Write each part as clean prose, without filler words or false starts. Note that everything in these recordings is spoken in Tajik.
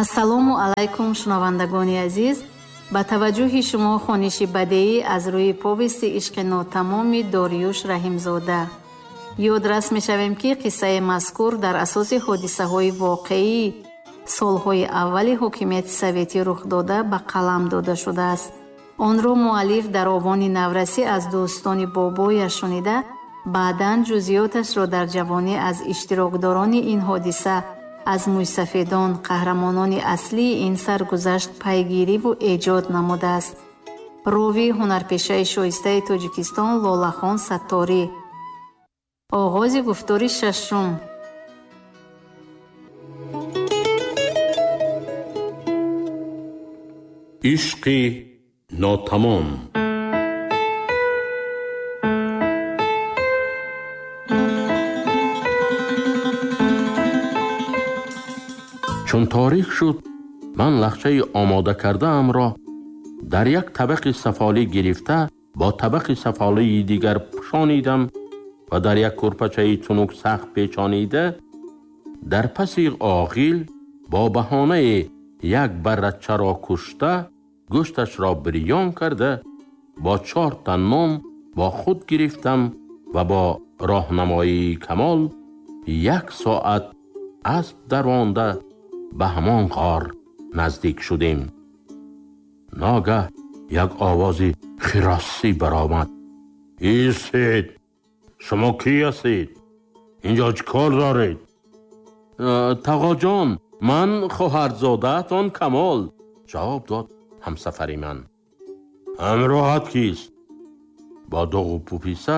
Ассалому алайкум, шунавандагони азиз. Ба таваҷҷӯҳи шумо хониши бадеӣ аз рӯи повести ишқи нотамоми Дориюш Раҳимзода. Ёдрас мешавем, ки қиссаи мазкур дар асоси ҳодисаҳои воқеӣ солҳои аввали ҳокимияти советӣ рух дода ба қалам дода шудааст. Онро муаллиф дар овони наврасӣ аз дӯстони бобояш шунида, баъдан ҷузъиёташро дар ҷавонӣ аз иштирокдорони ин ҳодиса, аз мӯйсафедон, қаҳрамонони аслии ин саргузашт пайгириву эҷод намудааст. Ровии ҳунарпешаи шоистаи Тоҷикистон Лолахон Сатторӣ. Оғози гуфтори шашум. Ишқи нотамом. Чун торик шуд, ман лахчаи омода кардаамро дар як табақи сафолӣ гирифта бо табақи сафолии дигар пӯшонидам ва дар як курпачаи тунук сахт печонида дар паси оғил бо баҳонаи як баррачаро кушта, гӯшташро бирён карда бо 4 та нон бо худ гирифтам ва бо роҳнамоии Камол 1 соат асп даронда ба ҳамон ғор наздик шудем. Ногаҳ як овози хиросӣ баромад. Истед! Шумо кӣ ҳастед? Инҷо чӣ кор доред? Тағоҷон, ман хоҳарзодаатон Камол, ҷавоб дод ҳамсафари ман. Ҳамроҳат кист? Бо дуғу пуписа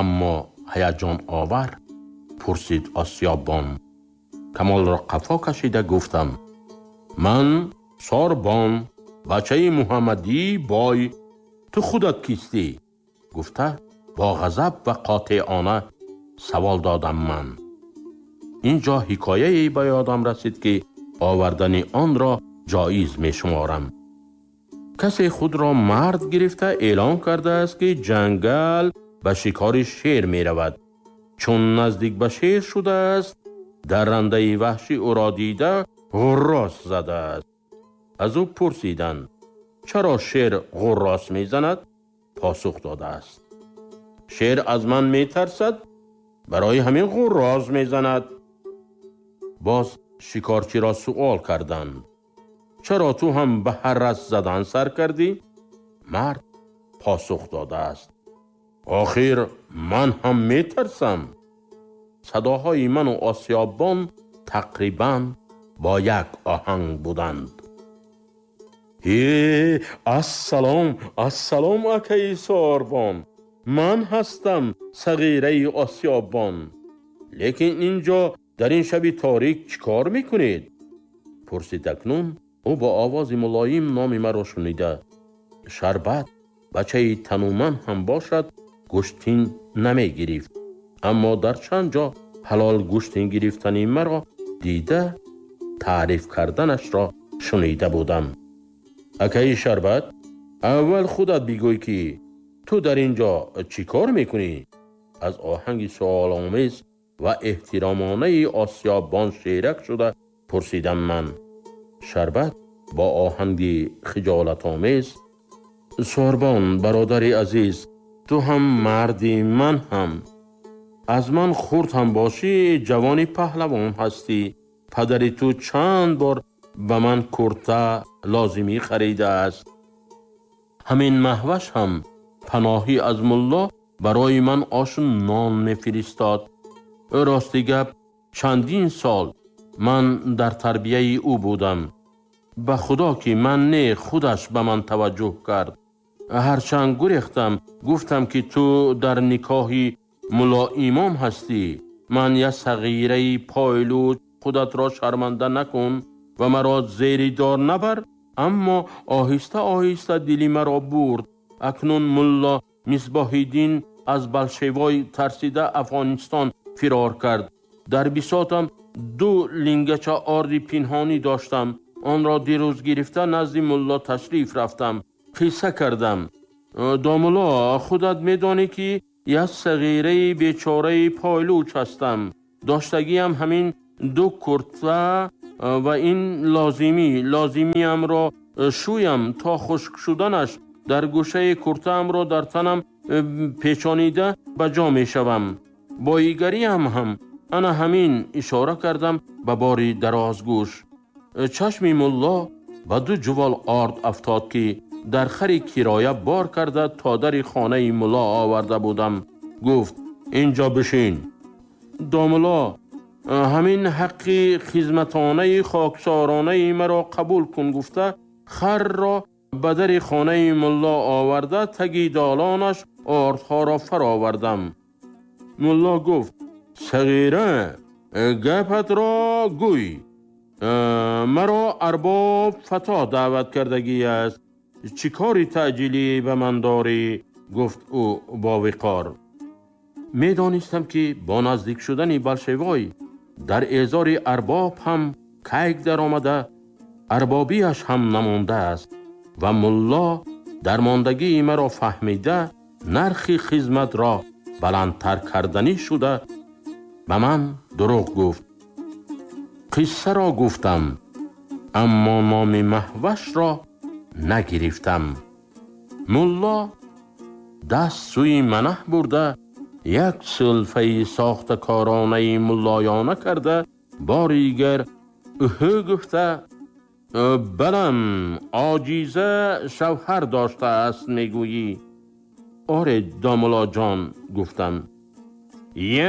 аммо ҳаяҷоновар пурсид Осиёбон. Камолро қафо кашида гуфтам: ман Сорбон, бачаи Муҳаммадӣ бой, ту худат кистӣ? Гуфта бо ғазаб ва қотеона савол додам ман. Инҷо ҳикояе ба ёдам расид, ки овардани онро ҷоиз мешуморам. Касе худро мард гирифта эълон кардааст, ки ҷангал ба шикори шер меравад. Чун наздик ба шер шудааст, даррандаи ваҳшӣ ӯро дида ғуррос задааст. Аз ӯ пурсиданд: чаро шер ғуррос мезанад? Посух додааст: шер аз ман метарсад, барои ҳамин ғуррос мезанад. Боз шикорчиро суол карданд: чаро ту ҳам ба ҳаррас задан сар кардӣ? Мард посух додааст: охир ман ҳам метарсам. Садоҳои ману Осиёбон тақрибан бо як оҳанг буданд. Ассалом, ассалом, акаи Сорбон, ман ҳастам сағираи Осиёбон. Лекин инҷо дар ин шаби торик чӣ кор мекунед? Пурсид акнун ӯ бо овози мулоим номи маро шунида. Шарбат бачаи тануман ҳам бошад, гӯштин намегирифт, аммо дар чанд ҷо ҳалол гӯштин гирифтани маро дида таъриф карданашро шунида будам. Акаи Шарбат, аввал худат бигӯй, ки ту дар ин ҷо чӣ кор мекунӣ? Аз оҳанги суоломез ва эҳтиромонаи Осиёбон шерак шуда пурсидам ман. Шарбат бо оҳанги хиҷолатомез: Сорбон, бародари азиз, ту ҳам марди, ман ҳам. Аз ман хурд ҳам бошӣ, ҷавони паҳлавон ҳастӣ. Падари ту чанд бор ба ман курта лозимӣ харидааст. Ҳамин маҳваш ҳам паноҳӣ аз мулло барои ман ошу нон мефиристод. Рости гап, чандин сол ман дар тарбияи ӯ будам. Ба худо ки ман не, худаш ба ман таваҷҷӯҳ кард. Ҳарчанд гурехтам, гуфтам ки ту дар никоҳи мулло имом ҳастӣ. Ман як сағираи пойлуч, худатро шарманда накун ва маро зери дор набар. Аммо оҳиста оҳиста дили маро бурд. Акнун мулло Мисбоҳиддин аз болшевой тарсида Афғонистон фирор кард. Дар бисотам 2 лингача орди пинҳонӣ доштам. Онро дирӯз гирифта назди мулло ташриф рафтам. Қисса кардам. Домулло, худат медонӣ, ки як сағираи бечораи пойлуч ҳастам. Доштагиам ҳамин 2 курта ва ин лозимиамро шӯям то хушк шуданаш дар гӯшаи куртаамро дар танам печонида ба ҷо мешавам. Боигариам ҳам ана ҳамин ишора кардам ба бори дарозгӯш. Чашми мулло ба ду ҷувол орд афтод ки дар хари кироя бор карда то дари хонаи мулло оварда будам. Гуфт: инҷо бишин. Домулло, ҳамин ҳаққи хизматонаи хоксоронаи маро қабул кун гуфта харро ба дари хонаи мулло оварда таги долонаш ордҳоро фаровардам. Мулло гуфт: сағира, гапатро гӯй. Маро арбоб Фато даъват кардагӣ аст. Чӣ кори таъҷилӣ ба ман дорӣ? Гуфт ӯ бо виқор. Медонистам ки бо наздик шудани болшевой дар эъзори арбоб ҳам кайк даромада, арбобиаш ҳам намондааст ва мулло дармондагии маро фаҳмида нархи хизматро баландтар карданӣ шуда ба ман дурӯғ гуфт. Қиссаро гуфтам, аммо номи маҳвашро нагирифтам. Мулло даст сӯи манаҳ бурда як сулфаи сохтакоронаи муллоёна карда бори дигар уҳу гуфта: балам, оҷиза шавҳар доштааст мегӯӣ? Оре, домуллоҷон, гуфтам.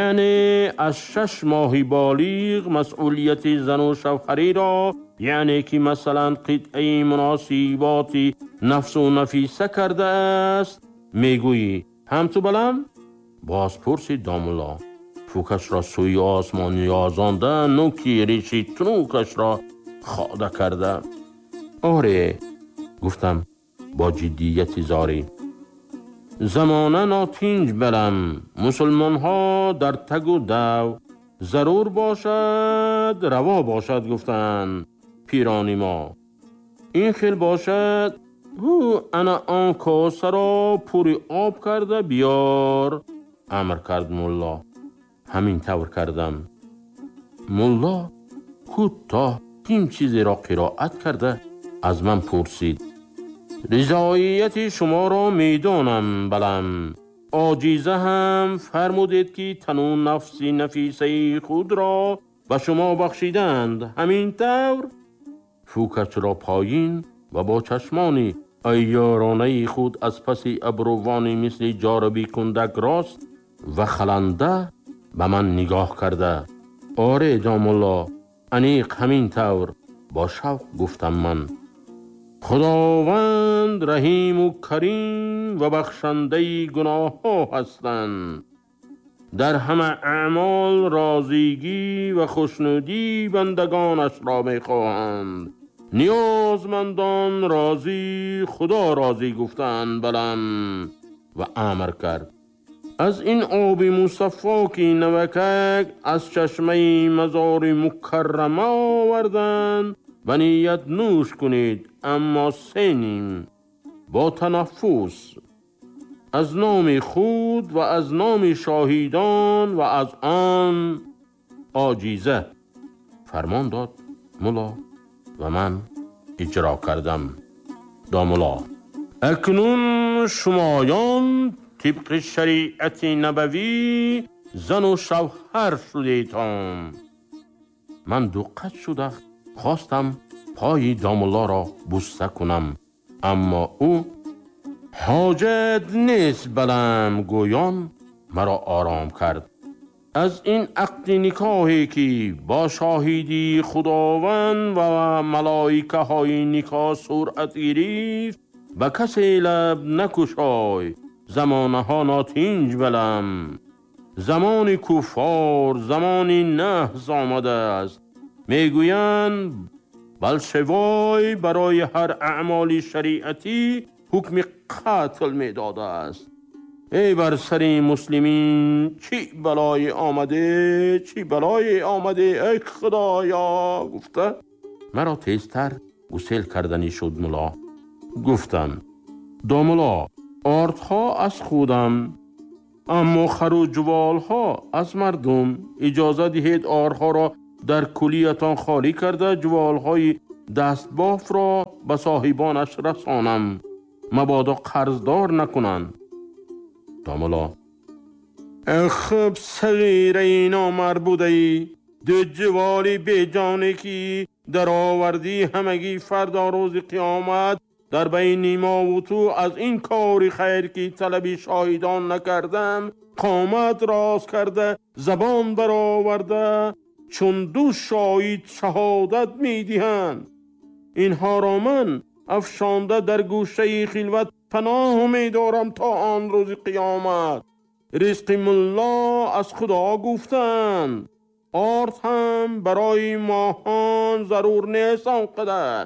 Яъне аз 6 моҳи болиғ масъулияти зану шавҳариро, яъне ки масалан қитъаи муносиботи нафсу нафиса кардааст мегӯӣ. Ҳам ту балам? Боз пурсид домулло. Фукашро сӯи осмон ёзонда нуки риши тунукашро хода карда. Оре, гуфтам бо ҷиддияти зорӣ. Замона нотинҷ балам, мусулмонҳо дар тагу дав, зарур бошад раво бошад гуфтанд пирони мо. Ин хел бошад, ҳу ана он косаро пури об карда биёр, амр кард мулло. Ҳамин тавр кардам. Мулло кӯтоҳ ким чизеро қироат карда аз ман пурсид: ризоияти шуморо медонам балам, оҷиза ҳам фармудед ки тану нафси нафисаи худро ба шумо бахшиданд. Ҳамин тавр? Фукашро поин ва бо чашмони айёронаи худ аз паси абрувони мисли ҷораби кундак рост ва халанда ба ман нигоҳ карда: оре домулло, аниқ ҳамин тавр, бо шавқ гуфтам ман. Худованд раҳиму карим ва бахшандаи гуноҳҳо ҳастанд. Дар ҳама аъмол розигӣ ва хушнудии бандагонашро мехоҳанд. Ниёзмандон розӣ, Худо розӣ гуфтанд балам. Ва амр кард: аз ин оби мусаффо ки навакак аз чашмаи мазори мукаррама оварданд ба ният нӯш кунед, аммо се ним бо танаффус аз номи худ ва аз номи шоҳидон ва аз он оҷиза. Фармон дод мулло ва ман иҷро кардам. Домулло: акнун шумоён тибқи шариати набавӣ зану шавҳар шудетон. Ман дуққат шуда хостам пои домуллоро буста кунам, аммо ӯ ҳоҷат нест балам гӯён маро ором кард. Аз ин ақди никоҳе ки бо шоҳидии Худованд ва малоикаҳои никоҳ суръат гирифт ба касе лаб накушой. Замонаҳо нотинҷ балам, замони куффор, замони наҳз омадааст. Мегӯянд болшевой барои ҳар аъмоли шариатӣ ҳукми қатл медодааст. Эй бар сари муслимин чӣ балое омаде, чӣ балое омаде, эй Худоё, гуфта маро тезтар гусел карданӣ шуд мулло. Гуфтам: домулло, ордҳо аз худам, аммо хару ҷуволҳо аз мардум. Иҷоза диҳед ордҳоро дар кулиятон холӣ карда ҷуволҳои дастбофро ба соҳибонаш расонам, мабодо қарздор накунанд. Домулло: хуб, сағираи номард будаӣ, ду ҷуволи беҷоне ки даровардӣ ҳамагӣ фардо рӯзи қиёмат дар байни мо ва ту аз ин кори хайр ки талаби шоҳидон накардам, қомат рост карда, забон бароварда, чун ду шоҳид шаҳодат медиҳанд. Инҳоро ман афшонда дар гӯшаи хилват паноҳ медорам то он рӯзи қиёмат. Ризқи мулло аз Худо гуфтанд, орд ҳам барои моҳон зарур нест он қадар.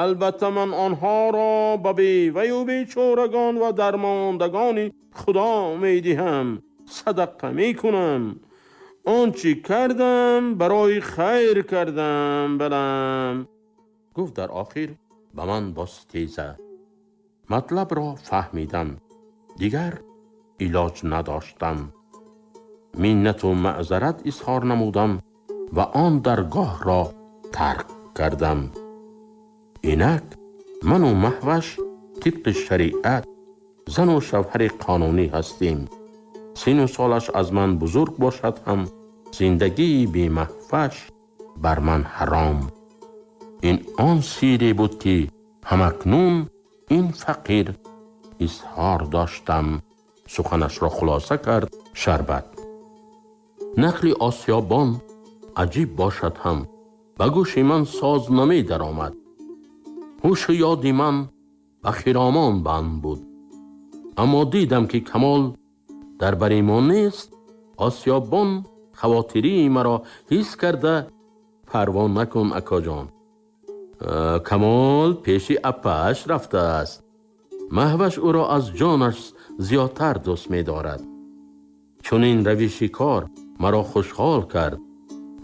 Албатта ман онҳоро ба беваю бечорагон ва дармондагони Худо медиҳам, садақа мекунам. Он чӣ кардам барои хайр кардам, балам. Гуфт дар охир ба ман боз теза. Матлабро фаҳмидам, дигар илоҷ надоштам. Миннату маъзарат изҳор намудам ва он даргоҳро тарк кардам. Инак ману Маҳваш тибқи шариат зану шавҳари қонунӣ ҳастем. Сину солаш аз ман бузург бошад ҳам зиндагии бемаҳваш бар ман ҳаром. Ин он сире буд ки ҳамакнун ин фақир изҳор доштам. Суханашро хулоса кард Шарбат. Нақли осиёбон аҷиб бошад ҳам ба гӯши ман соз намедаромад. Ҳушу ёди ман ба Хиромон банд буд. Аммо дидам ки Камол дар бари мо нест. Осиёбон хавотирии маро ҳис карда: парво накун акоҷон, Камол пеши апааш рафтааст. Маҳваш ӯро аз ҷонаш зиёдтар дӯст медорад. Чунин равиши кор маро хушҳол кард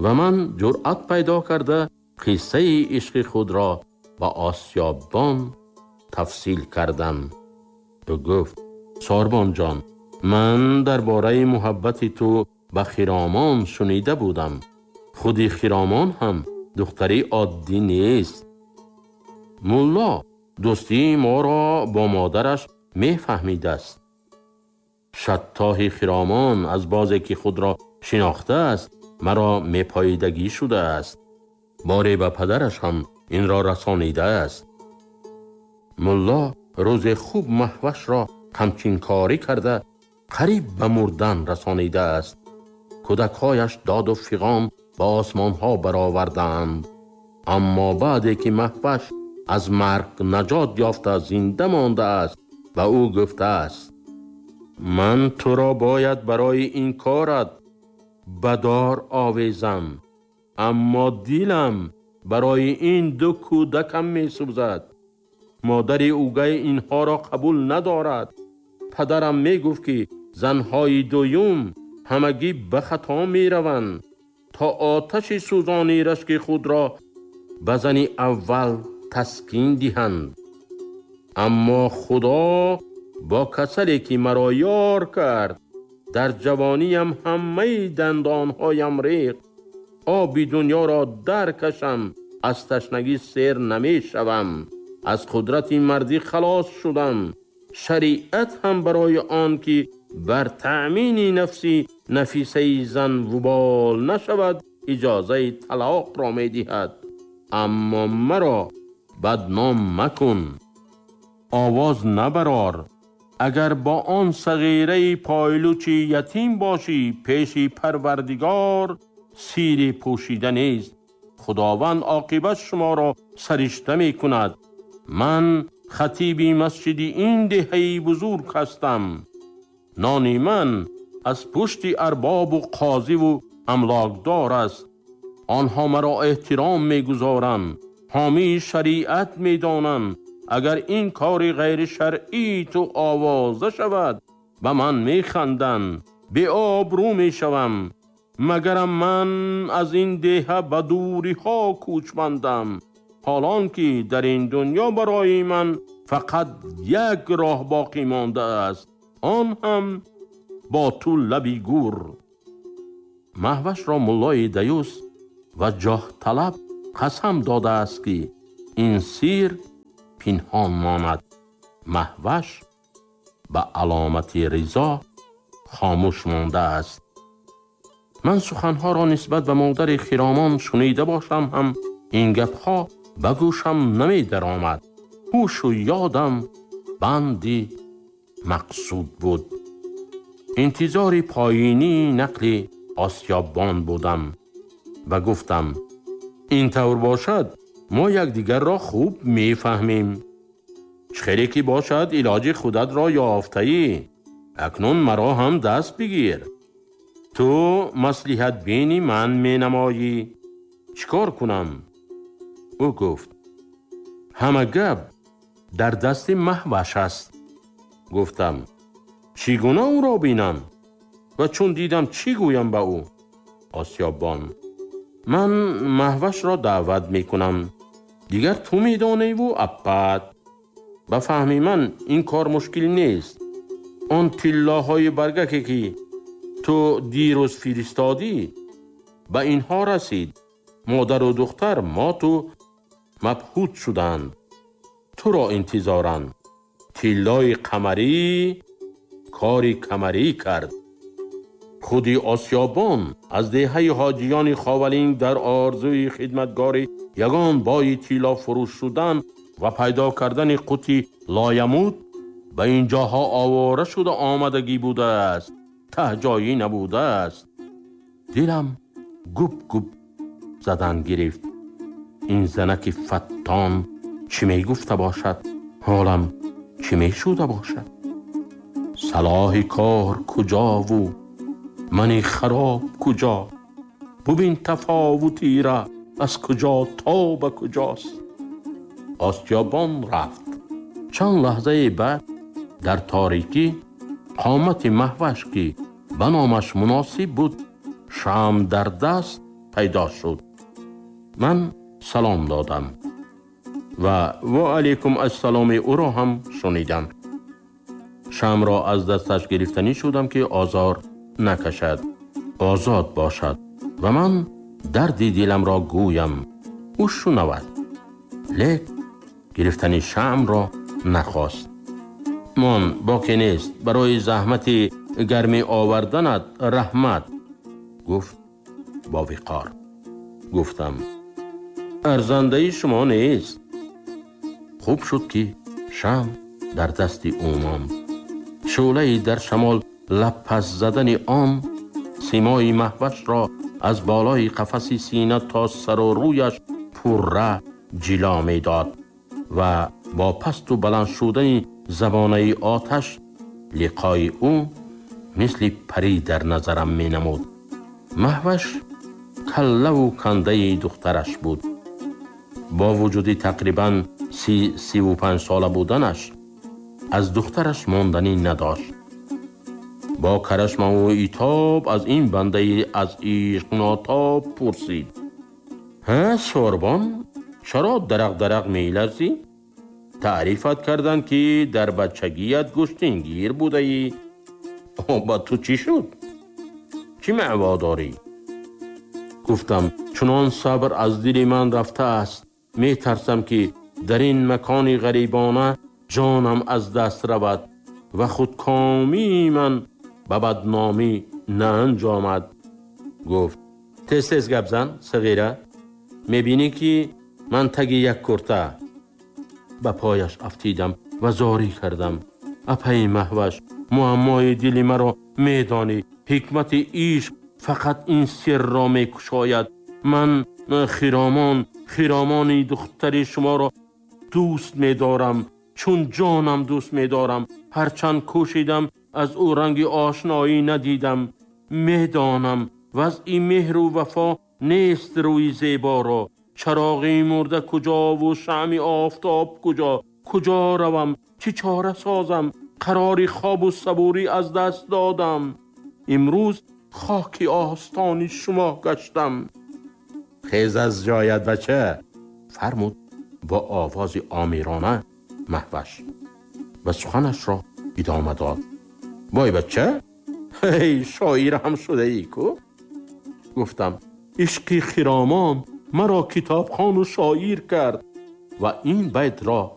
ва ман ҷуръат пайдо карда қиссаи ишқи худро ба осиёбон тафсил кардам. Ӯ гуфт: Сорбонҷон, ман дар бораи муҳаббати ту ба Хиромон шунида будам. Худи Хиромон ҳам духтари оддӣ нест. Мулло дӯстии моро бо модараш мефаҳмидааст. Шаттоҳи Хиромон аз бозе ки худро шинохтааст маро мепоидагӣ шудааст. Боре ба падараш ҳам инро расонидааст. Мулло рӯзе хуб Маҳвашро қамчинкорӣ карда қариб ба мурдан расонидааст. Кӯдакҳояш доду фиғон ба осмонҳо бароварданд. Аммо баъде ки Маҳваш аз марг наҷот ёфта зинда мондааст, ба ӯ гуфтааст: ман туро бояд барои ин корат ба дор овезам, аммо дилам барои ин ду кӯдакам месӯзад. Модари ӯгай инҳоро қабул надорад. Падарам мегуфт ки занҳои дуюм ҳамагӣ ба хато мераванд то оташи сӯзони рашки худро ба зани аввал таскин диҳанд. Аммо Худо бо касале ки маро ёр кард, дар ҷавониям ҳамаи дандонҳоям рехт. Оби дунёро даркашам, аз ташнагӣ сер намешавам. Аз қудрати мардӣ халос шудам. Шариат ҳам барои он ки бар таъмини нафси нафисаи зан вубол нашавад, иҷозаи талоқро медиҳад. Аммо маро бадном макун, овоз набарор. Агар бо он сағираи пойлучи ятим бошӣ, пеши Парвардигор сири пӯшида нест. Худованд оқибат шуморо саришта мекунад. Ман хатиби масҷиди ин деҳаи бузург ҳастам. Нони ман аз пушти арбобу қозиву амлокдор аст. Онҳо маро эҳтиром мегузоранд, ҳомии шариат медонанд. Агар ин кори ғайришаръии ту овоза шавад, ба ман механданд, беобрӯ мешавам. Магарам ман аз ин деҳа ба дуриҳо кӯчмандам, ҳолон ки дар ин дунё барои ман фақат як роҳ боқӣ мондааст, он ҳам бо ту лаби гӯр. Маҳвашро муллои даюс ва ҷоҳталаб қасам додааст, ки ин сир пинҳон монад. Маҳваш ба аломати ризо хомӯш мондааст. Ман суханҳоро нисбат ба модари Хиромон шунида бошам ҳам, ин гапҳо ба гӯшам намедаромад. Ҳушу ёдам банди мақсуд буд. Интизори поинии нақли осиёббон будам ва гуфтам: ин тавр бошад, мо якдигарро хуб мефаҳмем. Чӣ хеле ки бошад, илоҷи худатро ёфтаӣ. Акнун маро ҳам даст бигир. Ту маслиҳатбини ман менамоӣ. Чӣ кор кунам? Ӯ гуфт: ҳама гап дар дасти Маҳваш аст. Гуфтам: чӣ гуна ӯро бинам? Ва чун дидам, чӣ гӯям ба ӯ? Осиёббон: ман Маҳвашро даъват мекунам. Дигар ту медоневу аппат. Ба фаҳми ман ин кор мушкил нест. Он тиллоҳои баргаке, ки ту дирӯз фиристодӣ, ба инҳо расид. Модару духтар моту мабҳут шуданд. Туро интизоранд. Тиллои қамарӣ кори камарӣ кард. Худи осиёбон аз деҳаи ҳоҷиёни Ховалинг дар орзуи хидматгори ягон бои тилло фурӯш шудан ва пайдо кардани қути лоямут ба ин ҷоҳо овора шуда омадагӣ будааст, таҳҷоӣ набудааст. Дилам губ-губ задан гирифт. Ин занаки фаттон чӣ мегуфта бошад? Ҳолам чӣ мешуда бошад? Салоҳи кор куҷову мани хароб куҷо? Бубин тафовутира аз куҷо то ба куҷост. Осиёбон рафт. Чанд лаҳзаи баъд дар торикӣ қомати Маҳваш, ки ба номаш муносиб буд, шам дар даст пайдо шуд. Ман салом додам ва ва алайкум ассаломи ӯро ҳам шунидам. Шамро аз дасташ гирифтанӣ шудам, ки озор накашад, озод бошад ва ман дарди диламро гӯям, ӯ шунавад. Лек гирифтани шамро нахост. Мон боке нест, барои заҳмати гармӣ оварданат раҳмат, гуфт бо виқор. Гуфтам: арзандаи шумо нест. Хуб шуд, ки шам дар дасти ӯ монд. Шӯълаи дар шамол лабпас задани он симои Маҳвашро аз болои қафаси сина то сару рӯяш пурра ҷило медод ва бо пасту баланд шудани забонаи оташ лиқои ӯ мисли парӣ дар назарам менамуд. Маҳваш каллаву кандаи духтараш буд. Бо вуҷуди тақрибан 35 сола буданаш аз духтараш монданӣ надошт. Бо карашмаву итоб аз ин бандаи аз ишқ нотоб пурсид: ҳа, сорбон, чаро дарақ-дарақ меларзӣ? Таърифат карданд, ки дар бачагият гӯштингир будаӣ. Ба ту чӣ шуд? Чӣ маъво дорӣ? Гуфтам: чунон сабр аз дили ман рафтааст, метарсам, ки дар ин макони ғарибона ҷонам аз даст равад ва худкомии ман ба бадномӣ наанҷомад. Гуфт: тез тез гап зан, сағира, мебинӣ, ки ман таги як курта. Ба пояш афтидам ва зорӣ кардам: апаи Маҳваш, муаммои дили маро медонӣ. Ҳикмати ишқ фақат ин сирро мекушояд. Ман Хиромон, Хиромони духтари шуморо дӯст медорам, чун ҷонам дӯст медорам. Ҳарчанд кӯшидам, аз ӯ ранги ошноӣ надидам. Медонам, вазъи меҳру вафо нест рӯи зеборо. Чароғи мурда куҷову шамъи офтоб куҷо? Куҷо равам? Чӣ чора созам? Қарори хобу сабурӣ аз даст додам. Имрӯз хоки остони шумо гаштам. Хез аз ҷоят, бача, фармуд бо овози омирона Маҳваш ва суханашро идома дод: вой бача, ҳей, шоир ҳам шудаӣ ку. Гуфтам: Ишқи хиромон маро китобхону шоир кард ва ин байтро